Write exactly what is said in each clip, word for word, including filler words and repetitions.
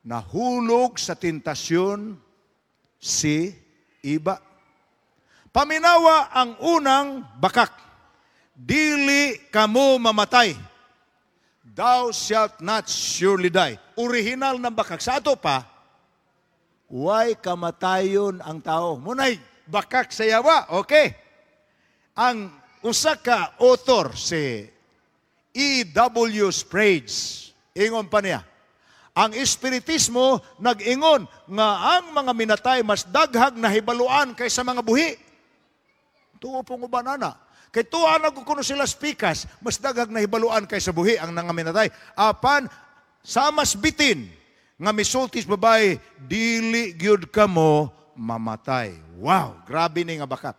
Nahulog sa tentasyon si Iba. Paminawa ang unang bakak. Dili kamo mamatay. Thou shalt not surely die. Original ng bakak. Sa ato pa, way kamatayon ang tao. Munay, bakak sa yawa. Okay. Ang usa ka author si E W. Sprague, ingon pa niya, ang espiritismo nag-ingon nga ang mga minatay mas daghag nahibaluan kaysa mga buhi. Tuo pong uban ana. Kay tuwa na kuno sila spikas, mas daghag nahibaluan kaysa buhi ang nga minatay. Apan sa mas bitin nga misultis babae, dili gyud kamo mamatay. Wow, grabe ni nga bakak.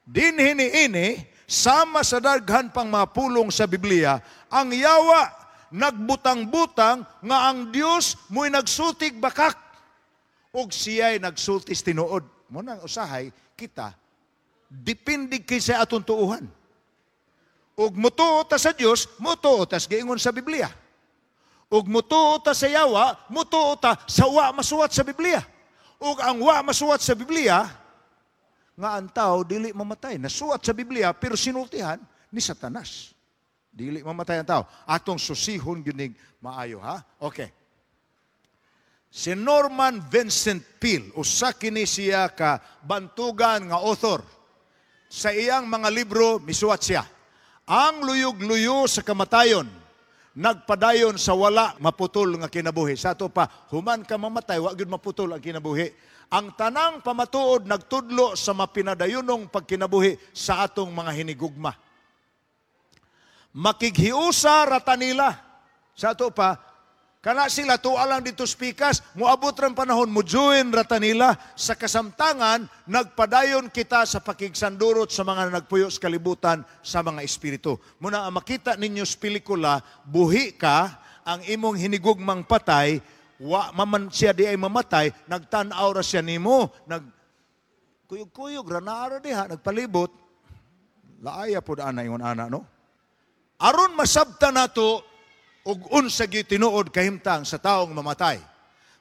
Dinhi niini, sama sa daghan pang mga pulong sa Biblia, ang yawa nagbutang-butang nga ang Dios mo'y nagsultig bakak ug siya'y nagsultis tinuod. Mo nang usahay kita depende kay sa atong tuuhan. Ug mutuo ta sa Dios, mutuo ta sa giingon sa Biblia. Ug mutuo ta sa yawa, mutuo ta sa wa masuwat sa Biblia. Ug ang wa masuwat sa Biblia, nga ang tao dili mamatay. Nasuwat sa Biblia pero sinultihan ni Satanas. Dili mamatay ang tao. Atong susihon gyud maayo, ha. Okay. Si Norman Vincent Peale, usa kini siya ka bantugan nga author. Sa iyang mga libro, misuwat siya. Ang luyog-luyo sa kamatayon, nagpadayon sa wala maputol nga kinabuhi. Sa ato pa, human ka mamatay, wa gyud maputol ang kinabuhi. Ang tanang pamatuod nagtudlo sa mapinadayunong pagkinabuhi sa atong mga hinigugma. Makighiusa rata nila. Sa ato pa, kana sila tuwa lang dito spikas, muabot ran panahon, mo join rata nila. Sa kasamtangan, nagpadayon kita sa pakigsandurot sa mga nagpuyo sa kalibutan sa mga espiritu. Muna ang makita ninyo sa pelikula, buhi ka, ang imong hinigugmang patay, wa maman siya di ay mamatay, nagtan-aw ra siya nimo, nag kuyog-kuyog ra naa ra diha, nagpalibot. Laaya pod ana ingon ana, no? Aron masabta nato og unsa gyud tinuod kahimtang sa taong mamatay.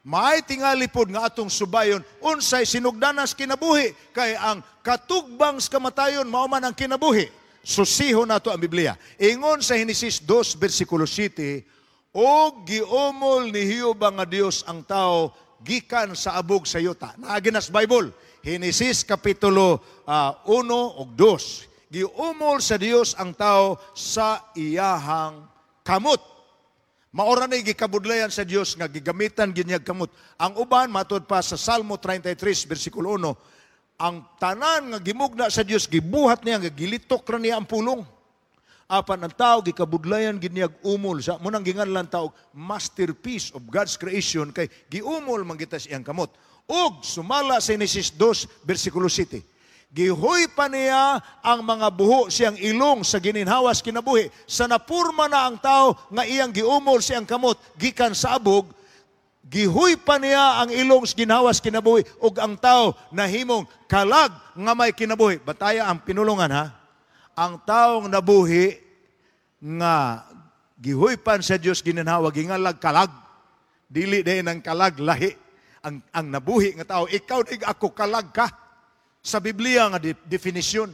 Maay tingali pod nga atong subayon unsay sinugdanas kinabuhi, kay ang katugbang sa kamatayon mao man ang kinabuhi. Susihon nato ang Biblia. Ingon sa Henesis two versikulo siyete, "Og giumol ni Jehova nga Dios ang tao gikan sa abog sa yuta." Naa gyud na sa Bible. Henesis kapitulo uh, uno ug dos. Giumol sa Dios ang tao sa iyahang kamot. Maora na gikabudlayan sa Dios nga gigamitan gyud niya kamot. Ang uban matud pa sa Salmo thirty-three versikulo one, ang tanan nga gimugna sa Dios gibuhat niya nga gilitok ra niya ang pulong. Apan ang tao gikabudlayan gyud niya umol sa mo nang ginganlan tao masterpiece of God's creation kay giumol man kita sa iyang kamot. Ug sumala sa Genesis two versikulo siyete, gihuy pa niya ang mga buho siyang ilong sa gininhawas kinabuhi. Sa napurma na ang tao nga iyang giumol siyang kamot gikan sa abog, gihuy pa niya ang ilong sa ginhawas kinabuhi ug ang tao nahimong kalag nga may kinabuhi. Bataya ang pinulungan, ha. Ang taong nabuhi nga gihuypan sa Dios gininhawa gingalag kalag. Dili din ang kalag lahi. Ang, ang nabuhi nga tao, ikaw dig ako, kalag ka. Sa Biblia nga de- definisyon.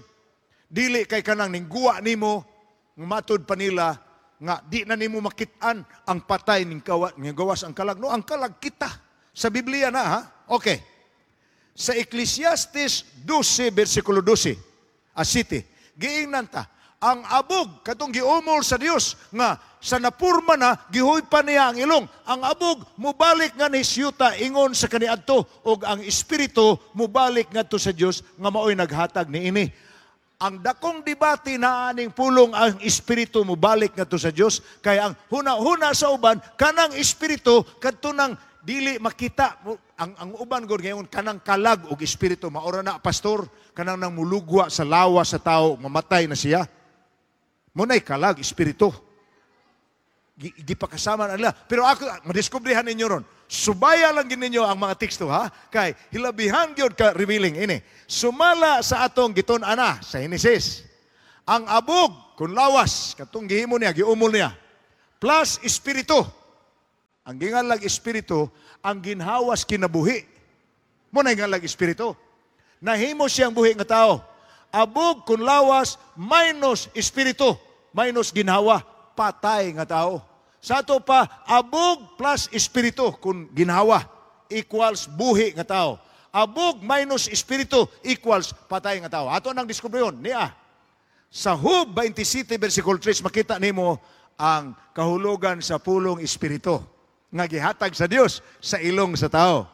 Dili kay kanang ningguwa nimo matud pa nila nga di na nimo makit-an ang patay ning kawa ning gawas ang kalag. No, ang kalag kita. Sa Biblia na, ha. Okay. Sa Ecclesiastes twelve versikulo twelve a city, giingnan ta ang abog katong giumol sa Dios nga sa napurma na gihuypan niya ang ilong. Ang abog mubalik nga ni yuta ingon sa kaniadto ug ang espiritu mubalik ngadto sa Dios nga maoy naghatag niini. Ang dakong debate na aning pulong ang espiritu mubalik ngadto sa Dios kay ang huna-huna sa uban kanang espiritu kadto nang dili makita. Ang ang uban gud ngayon kanang kalag og espiritu maora na, pastor, kanang nang mulugwa sa lawa sa tao, mamatay na siya, munay kalag espiritu. Gipakasama na nila. Pero ako, madiskubrihan ninyo ron. Subaya lang gid ninyo ang mga teksto, ha. Kay hilabihan gyud ka revealing ini. Sumala sa atong gitun-ana sa Genesis. Ang abog kun lawas katong gihimo niya, giumol niya. Plus espiritu. Ang ginganlag espiritu, ang ginhawas kinabuhi. Mao na ginganlag espiritu. Nahimo siyang buhi nga tao. Abog kun lawas minus espiritu, minus ginhawa, patay nga tao. Sa ato pa, abog plus espiritu kun ginhawa equals buhi nga tao. Abog minus espiritu equals patay nga tao. Ato nang diskubriyon niya. Sa Job twenty-seven versikulo three makita nimo ang kahulugan sa pulong espiritu nga gihatag sa Dios sa ilong sa tao.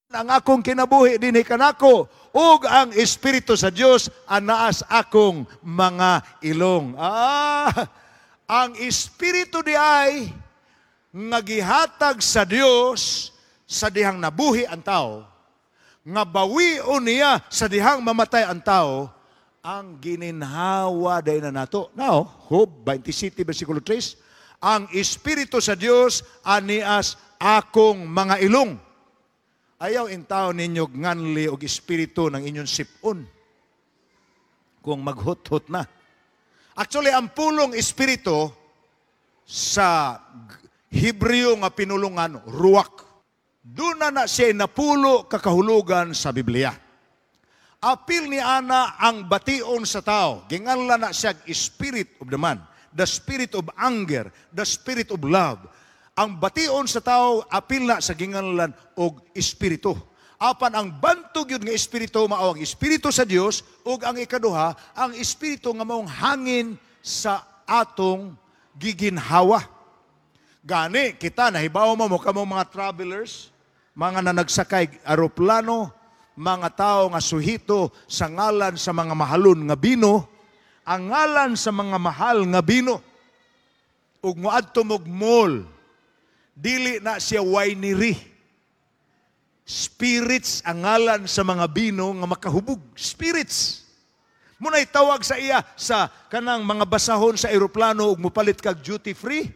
Ang akong kinabuhi dinhi kanako ug ang espiritu sa Dios anaas akong mga ilong. Ah, ang espiritu di ay nga gihatag sa Dios sa dihang nabuhi ang tao, nga bawion niya sa dihang mamatay ang tao, ang gininhawa day na nato. Now, Job twenty-seven versikulo three, ang espiritu sa Dios anias akong mga ilong. Ayaw intaw ninyo nganli og espiritu ng inyong sipon kung maghut-hut na. Actually, ang pulong espiritu sa Hebreo nga pinulungan, ruwak. Doon na na siya napulo kakahulugan sa Biblia. Apil ni ana ang bation sa tao. Ginganla na siya spirit of the man, the spirit of anger, the spirit of love. Ang bation sa tao, apil na sa ginganlan og espiritu. Apan ang bantog yun nga espiritu, mao ang espiritu sa Dios, ug ang ikaduha, ang espiritu nga maong hangin sa atong giginhawa. Gani, kita, nahibaw mo mo kamo mga travelers, mga nanagsakay aeroplano, mga tao nga suhito sa ngalan sa mga mahalon nga bino, ang ngalan sa mga mahal nga bino. Ug moadto mog mall, dili na siya winery. Spirits ang ngalan sa mga bino nga makahubog. Spirits. Muna'y tawag sa iya sa kanang mga basahon sa eroplano ug mopalit kag duty free.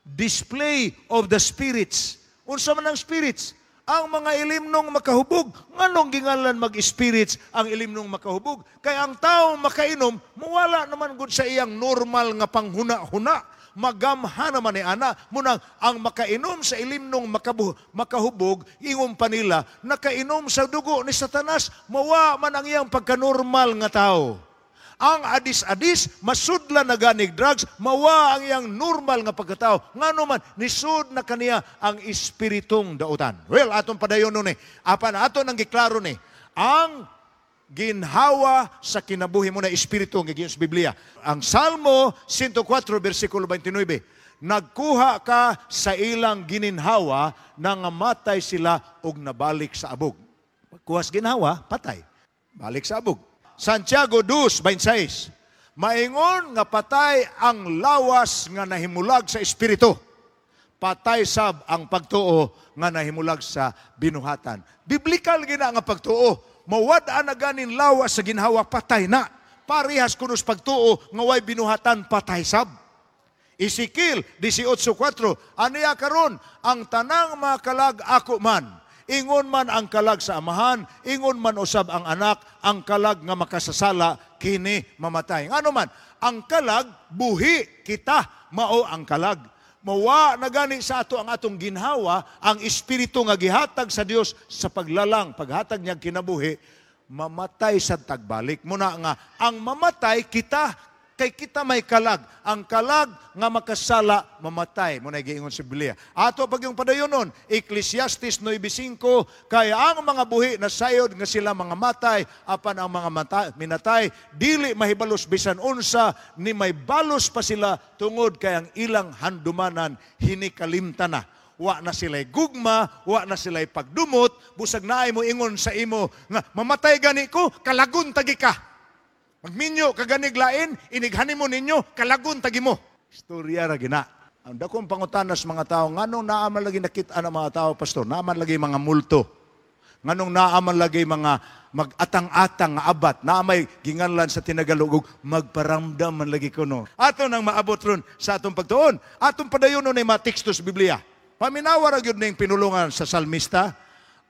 Display of the spirits. Unsa man ang spirits? Ang mga ilimnong makahubog. Nganong gingalan mag-spirits ang ilimnong makahubog? Kay ang tao makainom, muwala naman gud sa iyang normal nga panghuna-huna. Magamha naman ni ana. Munang ang makainom sa ilimnong makabu- makahubog, ingon pa nila, nakainom sa dugo ni Satanas, mawa man ang iyang pagkanormal nga tao. Ang adis-adis, masudla na ganig drugs, mawa ang iyang normal nga pagkatao. Ngano man, nisud na kaniya ang espiritong dautan. Well, atong padayon nun eh. Apan ato nang giklaro ni, ang ginhawa sa kinabuhi mo na espiritu ang gigiyon sa Biblia. Ang Salmo one oh four, versikulo twenty-nine, nagkuha ka sa ilang gininhawa, nangamatay sila og nabalik sa abog. Pagkuha sa ginhawa, patay. Balik sa abog. Santiago two, twenty-six, maingon nga patay ang lawas nga nahimulag sa espiritu. Patay sab ang pagtuo nga nahimulag sa binuhatan. Biblikal gina nga pagtuo. Mawad-an na ganin lawas sa ginhawa, patay na. Parehas kunos pagtuo nga way binuhatan, patay sab. Ezekiel eighteen four, aniya karon ang tanang mga kalag ako man. Ingon man ang kalag sa amahan, ingon man usab ang anak, ang kalag nga makasasala, kini mamatay. Ngano man, ang kalag, buhi kita, mao ang kalag. Mawa na gani sa ato ang atong ginhawa, ang espiritu nga gihatag sa Dios sa paglalang, paghatag niya kinabuhi, mamatay sa tagbalik. Muna nga, ang mamatay kita, kay kita may kalag. Ang kalag nga makasala, mamatay. Muna giingon sa Biblia. Ato pag yung padayonon, Ecclesiastes nine five, kaya ang mga buhi na sayod nga sila mga matay, apan ang mga mata, minatay, dili mahibalos bisan unsa, ni may balos pa sila tungod kay ang ilang handumanan hinikalimta na. Wa na sila'y gugma, wa na sila'y pagdumot, busag naay mo ingon sa imo nga mamatay gani ko, kalagun tagi ka. Magminyo kaganig lain, inighani mo ninyo, kalagun tagi mo. Istorya ra gina. Ang dakong pangutana sa mga tao, nganong naaman lagi nakita ng mga tao, pastor, naaman lagi mga multo. Nganong naaman lagi mga mag-atang-atang nga abat, naamay ginganlan sa Tinagalog, magparamdam man lagi kuno. Ato nang maabot ron sa atong pagtuon. Atong padayon nun ay mga teksto sa Biblia. Paminawa ra gyud ning pinulungan sa salmista,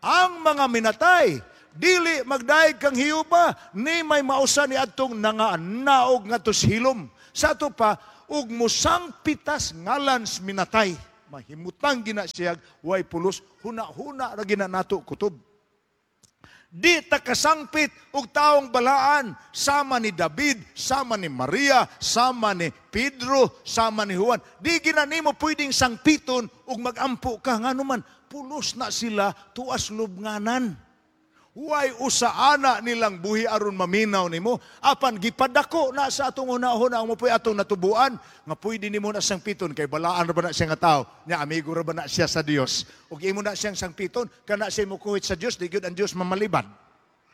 ang mga minatay, dili magdaig kang hiyuba, ni may mausa ni adtong nanganaog ngadto sa hilom. Sa ato pa, ug musang pitas ngalan sa minatay. Mahimutang gina siya, way pulos, huna-huna ra gina nato kutob. Di ta kasangpit og taong balaan sama ni David, sama ni Maria, sama ni Pedro, sama ni Juan. Di gina nimo pwedeng sangpiton ug magampo ka, ngano man pulos na sila tuas lubnganan. Way usa ana nilang buhi aron maminaw nimo, apan gipadako na sa atong hunahuna ang mopoy atong natubuan nga pwede nimo na sangpiton kay balaan ra ba na siya nga tao nya, amigo ra ba na siya sa Dios, ug imo na siyang sangpiton, kana siya mokuhit sa Dios, di gyud ang Dios mamalibad.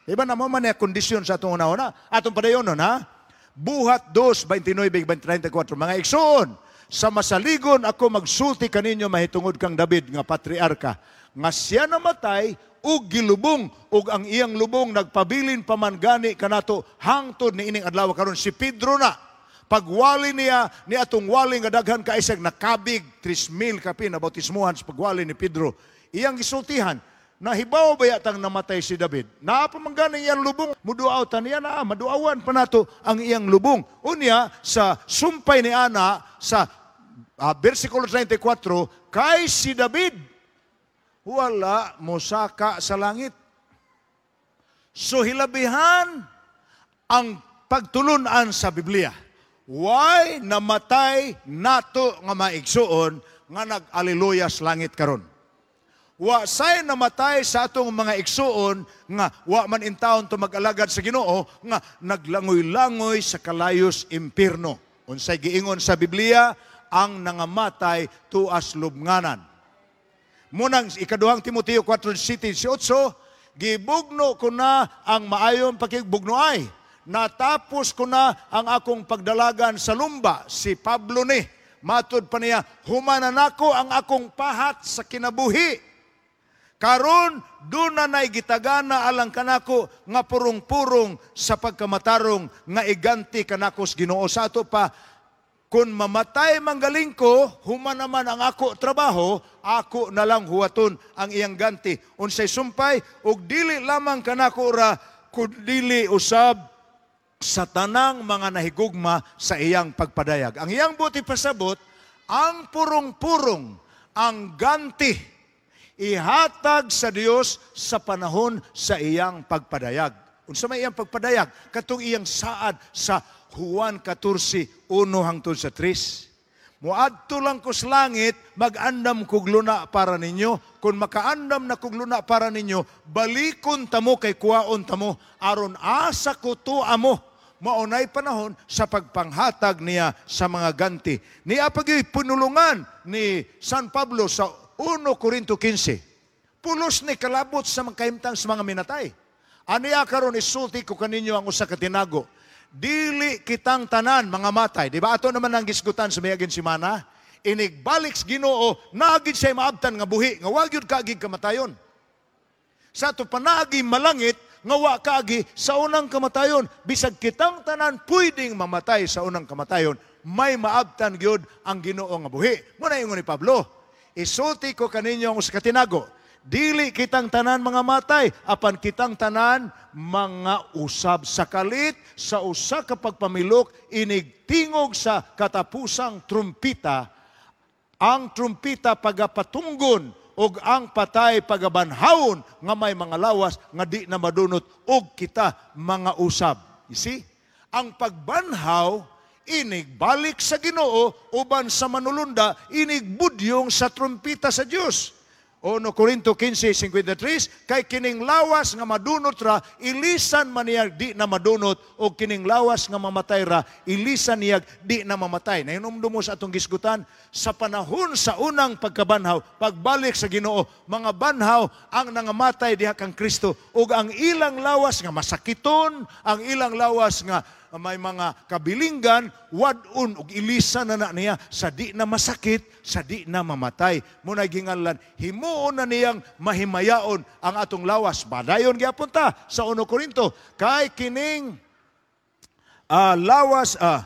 Diba na mo man na kondisyon sa atong hunahuna? Atong padayonon ha. Buhat two, twenty-nine thirty-four. Mga igsoon, sa masaligon ako magsulti kaninyo mahitungod kang David nga patriarka, nga siya namatay ug gilubong, ug ang iyang lubong nagpabilin pa man gani kanato hangtod ni ining adlaw karon. Si Pedro na pagwali niya ni atong wali nga daghan ka isag nakabig, three mil kapin na bautismuhan sa pagwali ni Pedro, iyang gisultihan, "Nahibaw ba yatang namatay si David? Naa pa man gani iyang lubong, muduaw ta niya na, maduawan pa nato ang iyang lubong." Unya sa sumpay ni ana sa uh, versikulo thirty-four, kay si David wala mosaka sa langit. So hilabihan ang pagtulunan sa Biblia. Why namatay nato nga maigsuon nga nag-aleluya sa langit karon? Wa say namatay sa atong mga igsuon nga wa man intawon to mag-alagad sa Ginoo nga naglangoy-langoy sa kalayos impierno. Unsay giingon sa Biblia? Ang nangamatay tuas lubnganan. Munang ikaduhang Timoteo four, eight, gibugno ko na ang maayon pakigbugnoay. Natapos ko na ang akong pagdalagan sa lumba, si Pablo ni. Matud pa niya, humanan nako ang akong pahat sa kinabuhi. Karon doon na na'y gitagana alang kanako nga purong-purong sa pagkamatarong nga iganti kanako sa Ginoo. Sa ato pa, kung mamatay manggaling ko, human naman ang ako trabaho, ako na lang huwaton ang iyang ganti. Unsay sumpay, ug dili lamang kanako ra, kundili usab sa tanang mga nahigugma sa iyang pagpadayag. Ang iyang buti pasabot, ang purong-purong, ang ganti, ihatag sa Dios sa panahon sa iyang pagpadayag. Unsa may iyang pagpadayag? Katong iyang saad sa Juan fourteen, one hangtod sa three. Muadto lang ko sa langit, mag-andam kog luna para ninyo. Kung makaandam na kog luna para ninyo, balikon tamo kay kuwaon tamo, aron asa ko tua mo. Maunay panahon sa pagpanghatag niya sa mga ganti. Niya pagyoy punulungan ni San Pablo sa First Corinto fifteen. Pulos ni kalabot sa mga kahimtang sa mga minatay. Aniya karon isulti ko kaninyo ang usa ka tinago. Dili kitang tanan mga matay. Di ba ato naman ang gisgutan sa miaging semana? Inigbalik sa Ginoo, naagid siya maabtan nga buhi, nga wa gyud kaagig kamatayon. Sa ato panaagi malangit, nga wa kaagi sa unang kamatayon. Bisag kitang tanan pwedeng mamatay sa unang kamatayon, may maabtan gyud ang Ginoo nga buhi. Muna ingon ni Pablo, isulti ko kaninyo ang usa ka tinago. Dili kitang tanan mga matay, apan kitang tanan mga usab sa kalit, sa usa ka pagpamilok, inigtingog sa katapusang trumpita. Ang trumpita pagapatunggon, ug ang patay pagabanhawon nga may mga lawas nga di na madunot, ug kita mga usab. You see? Ang pagbanhaw, inigbalik sa Ginoo uban sa manulunda, inigbudyong sa trumpita sa Dios. Uno Corinto fifteen, fifty-three, kay kining lawas nga madunot ra, ilisan man niya di na madunot, o kining lawas nga mamatay ra, ilisan niya di na mamatay. Nahinumdum mo sa atong gisgutan, sa panahon sa unang pagkabanhaw, pagbalik sa Ginoo, mga banhaw ang nangamatay diha kang Kristo, ug ang ilang lawas nga masakiton, ang ilang lawas nga may mga kabilinggan, wad-on ug ilisan na na niya sa di na masakit, sa di na mamatay. Muna ginganlan, himuon na niyang mahimayaon ang atong lawas. Badayon gyapon ta sa Uno Korinto, kay kining uh, lawas uh,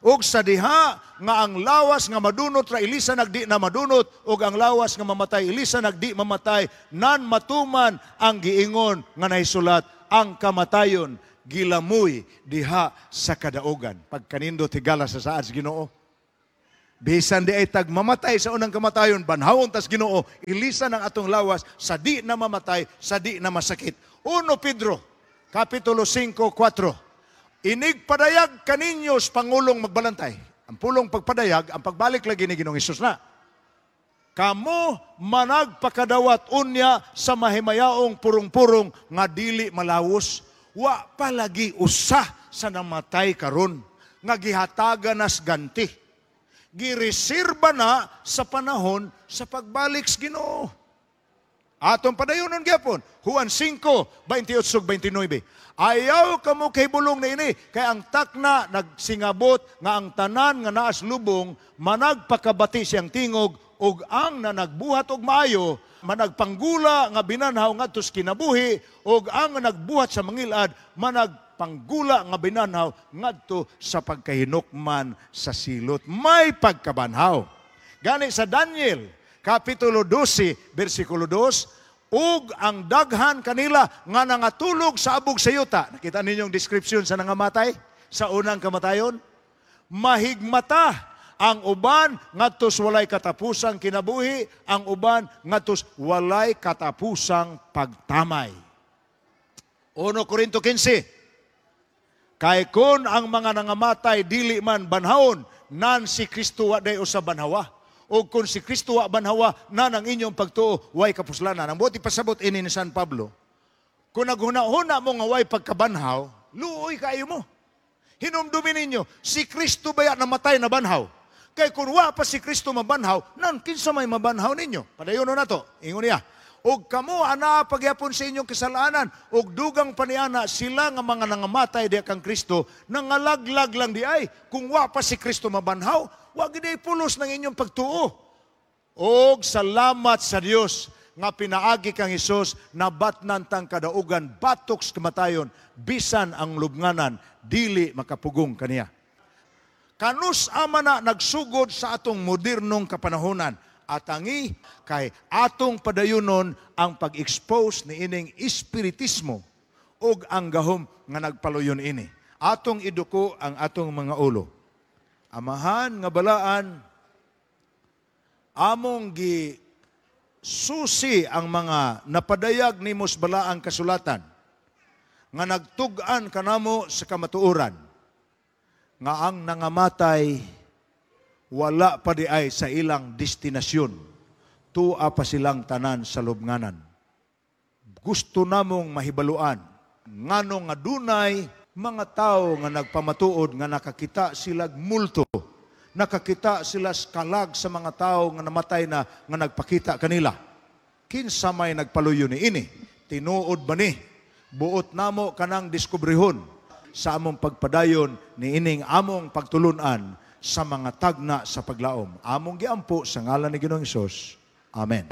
ug sa diha nga ang lawas nga madunot ra ilisan nagdi na madunot, ug ang lawas nga mamatay ilisan nagdi mamatay, nan matuman ang giingon nga nahisulat, ang kamatayon gilamoy diha sa kadaugan. Pagkanindot higala sa saad sa Ginoo. Bisan diay tag mamatay sa unang kamatayon, banhawon tas Ginoo, ilisan ang atong lawas sa di na mamatay, sa di na masakit. Uno Pedro, Kapitulo singko, kuwatro. Inig padayag kaninyo sa pangulong magbalantay. Ang pulong pagpadayag, ang pagbalik lagi ni Ginoong Hesus na. Kamo managpakadawat unya sa mahimayaong purong-purong nga dili malawos, wa palagi usa sa namatay karon nga gihatagan nas ganti. Gireserba na sa panahon sa pagbalik sa Ginoo. Atong padayonon gyapon, Juan singko, baynte otso ug baynte nuebe. Ayaw kamo kahibulong na ini, kay ang takna nagsingabot nga ang tanan nga naas lubong managpakabati siyang tingog, ug ang nanagbuhat og maayo managpanggula nga binanhaw ngadto sa kinabuhi, ug ang nagbuhat sa mangilad managpanggula nga binanhaw ngadto sa pagkahinukman sa silot. May pagkabanhaw. Gani sa Daniel Kapitulo dose, versikulo dos, ug ang daghan kanila nga nangatulog sa abog sa yuta. Nakita ninyong description sa nangamatay sa unang kamatayon? Mahigmata ang uban ngadto sa walay katapusang kinabuhi, ang uban ngadto sa walay katapusang pagtamay. Uno Korinto kinse. Kay kun ang mga nangamatay dili man banhawon, nan si Kristo wa day usa banhawa. O kung si Kristo wa banhawa, nan ang inyong pagtuo way kapuslanan. Ang buot ipasabot ini ni San Pablo, kung naghuna-huna mo nga way pagkabanhaw, luoy kaayo mo. Hinumdumin ninyo, si Kristo baya namatay na banhaw? Kay kung wa pa si Kristo mabanhaw, nan kinsa may mabanhaw ninyo? Padayon na to. Ingon niya, og kamo anaa pagyapon sa inyong kasalanan, og dugang paniana sila nga mga nangamatay diha kang Kristo, nangalaglag lang di ay. Kung wa pa si Kristo mabanhaw, wa gid ay pulos ng inyong pagtuo. Og salamat sa Dios nga pinaagi kang Hesus nabatnan tang kadaugan batok sa kamatayon, bisan ang lubnganan dili makapugong kaniya. Kanus ama na nagsugod sa atong modernong kapanahonan, atangi kay atong padayunon ang pag-expose ni ining espiritismo ug ang gahom nga nagpaluyon ini. Atong iduko ang atong mga ulo. Amahan nga balaan, among gi susi ang mga napadayag nimo sa balaang kasulatan nga nagtug-an kanamo sa kamatuoran nga ang nangamatay wala pa di ay sa ilang destinasyon, tua pa silang tanan sa lubnganan. Gusto namong mahibaluan ngano nga dunay mga tao nga nagpamatuod nga nakakita sila multo, nakakita sila kalag sa mga tao nga namatay na nga nagpakita kanila. Kinsa may nagpaluyo ni ini? Tinuod ba ni? Buot namo kanang diskubrihon sa among pagpadayon ni ining among pagtulunan sa mga tagna sa paglaom. Among giampo sa ngalan ni Ginoong Hesus. Amen.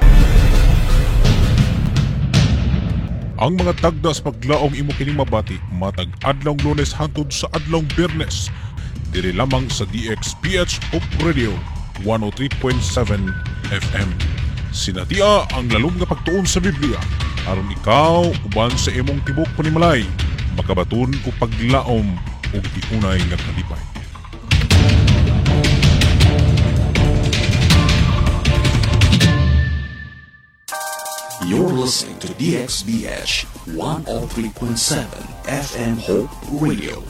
Ang mga tagda sa paglaom imo kining mabati matag adlawng Lunes hangtod sa adlawng Biyernes diri lamang sa D X B H Hope Radio one oh three point seven F M. Sinatia ang lalom nga pagtuon sa Biblia aron ikaw uban sa imong tibok panimalay makabaton og paglaom ug tiunay nga kalipay. You're listening to D X B H one oh three point seven F M Hope Radio.